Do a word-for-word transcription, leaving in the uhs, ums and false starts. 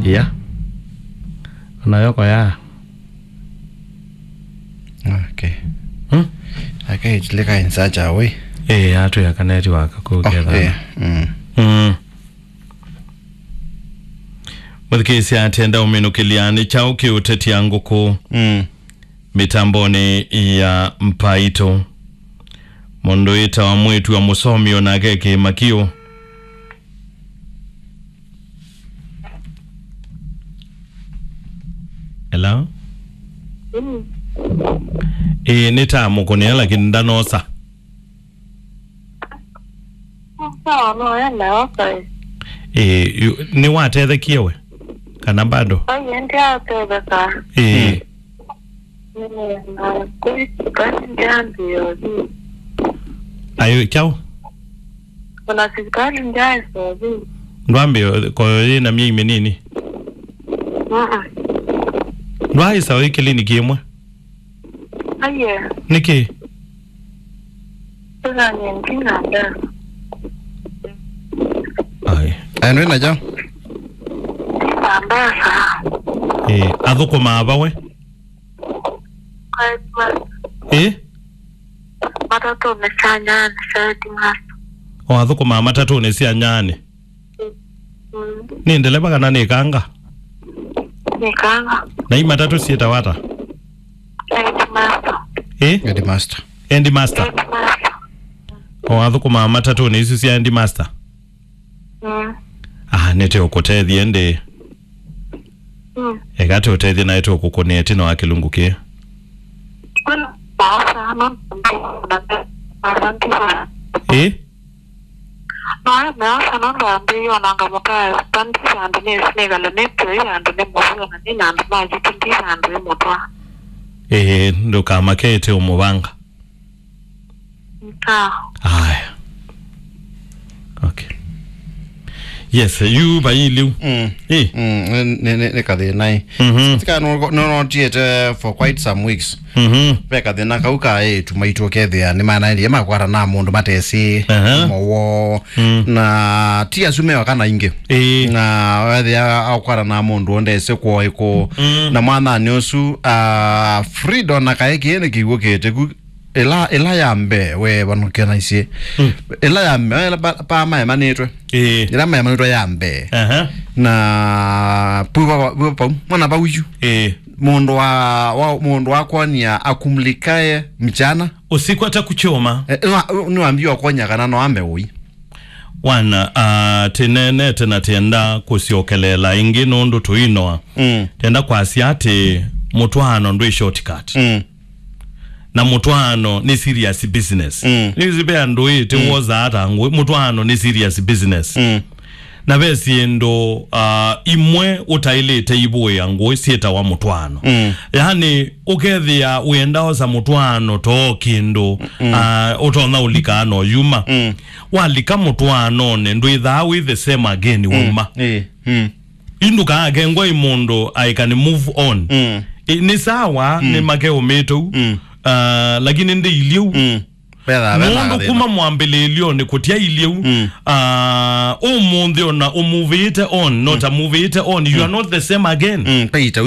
Yeah. Nayo kwa ya. Okay. Hmm? Akaitulika in such a way. Eh, atu ya kaneti waka kuketha. Oh, eh. Mm. Mm. Mũthikĩĩsya atenda ũminũkĩlya nĩ kyaũ kĩũtetia ngũkũ. Mm. Mĩtambonĩ ya Mpaitũ. Mũndũ wĩtawa mwĩĩtu wa mũsomi onake kĩĩma kĩũ. Hello? Mm. Ĩĩ, nĩ ta mũkũnĩa, lakini ndanosa. Sawa, no, enda, okay. Ĩĩ, yu-, nĩwatethekie we? Kana bado? Ai, ndiatetheka. Ĩĩ. Mm, na kũi sukali ndiambĩĩa ũthi. Ayo, kyaũ? Ona sukali ndiaĩsa ũthi. Ndwambĩĩa koyo yĩ na myei mĩnini? Mm-mm. Ndwaĩsa ũthi kĩliniki ĩmwe? Aiye. Nĩkĩ? Tũthanie ndina mbesa. Ai. Aya, ndwĩ nayo? Ndina mbesa. Ĩĩ, athũkũmaa va we? Kwa headmaster. Ĩĩ? Matatũnĩ sya Nyani, sya headmaster. O athũkũmaa matatũnĩ sya Nyani? Mm. Nĩ ndeleva kana nĩ kanga? Nĩ kanga. Na i matatũ syĩtawa ata? Headmaster. Ĩ? Headmaster. Headmaster. Headmaster. O athũkũmaa matatũnĩ isu sya headmaster? Mm. Ah, nĩte ũkũtethie ndĩ. Mm. Eka tũtethie naĩ tũkũkũnĩa ĩtina wa kĩlungu kĩĩ. Kwĩna maosa, no, na, na, na, Ĩ? No, nĩ meosa nũndũ ambĩĩie onanga mũtwae pandisa andũ nĩsĩ nĩkala nĩtwei andũ nĩ mũvio na nĩ na andũ ma yitũ ndisa andũ ĩ mũtwa. Ĩĩ, ndũkamake ĩte ũmũvanga. Nta. Aya. Okay. Yes, yu vai iliu. Mm. Ĩ? Mm, nĩ, nĩ, nĩ kathĩna ĩ. Mhm. Tika no, no, notiete for quite some weeks. Mhm. Ve kathĩna kau ka ĩtu maitũ ũkethĩa nĩ manaendie makwata na mũndũ matesĩ. Aha. Mowo. Mm. Na ti asu meo kana ingĩ. Ĩĩ. Na wethĩa akwata na mũndũ ndesĩ kwa ĩkũ. Mm. Na mwananĩ ũsu, ah, Frida na kaĩ kĩĩ nĩ kĩw'ũkĩte ku ĩla, ĩla ya mbee, we vanũkĩa naisye. Mm. Ĩla ya mbee, ĩla pa, pa maemanĩtwe. Ĩĩ. Ĩla maemanĩtwe ya mbee. Aha. Na pu va, pu va pau, mwana vau yu. Ĩĩ. Mũndũ wa, wa, mũndũ wa kwonia akumlikae mchana. Usiku atakuchoma. Eh, nĩwa-, nĩwambie ũkonya kana no ame ũi. Wana, ah, tinenete na tienda kũsyokeleela ĩngĩ nũndũ tũinoa. Mm. Tienda kwasya atĩ mũtwaano ndwĩ shortcut. Mm. Na mũtwaano nĩ serious business. Mm. Nĩwĩsĩ ve andũ ĩ, ti woza ata ngũĩ, mũtwaano nĩ serious business. Mm. Na ve syĩndũ, ah, imwe ũtaĩlĩte ivũĩa ngũĩ syĩtawa mũtwaano. Mm. Yaani, ũkethĩa wĩenda osa mũtwaano too kĩndũ, mm, ah, ũtonya ũlikaa no yuma. Mm. Walika mũtwaanonĩ, ndwĩthaa wĩ the same again wauma. Ĩĩ. Mm. Indũkaakengwa ĩ mũndũ aĩka nĩ move on. Mm. Ĩ, nĩ sawa, mm, nĩ make ũmĩte u. Mm. Ah, lakini ndĩ ilyĩ u. Mm. Vetha, vetha, nũndũ thĩna. Kuma mwambĩlĩĩlyonĩ kũtya ilyĩ u. Mm. Ah, ũmũnthĩ ona ũmuvĩĩte on, no ta muvĩĩte on, you are not the same again. Mm. Peter,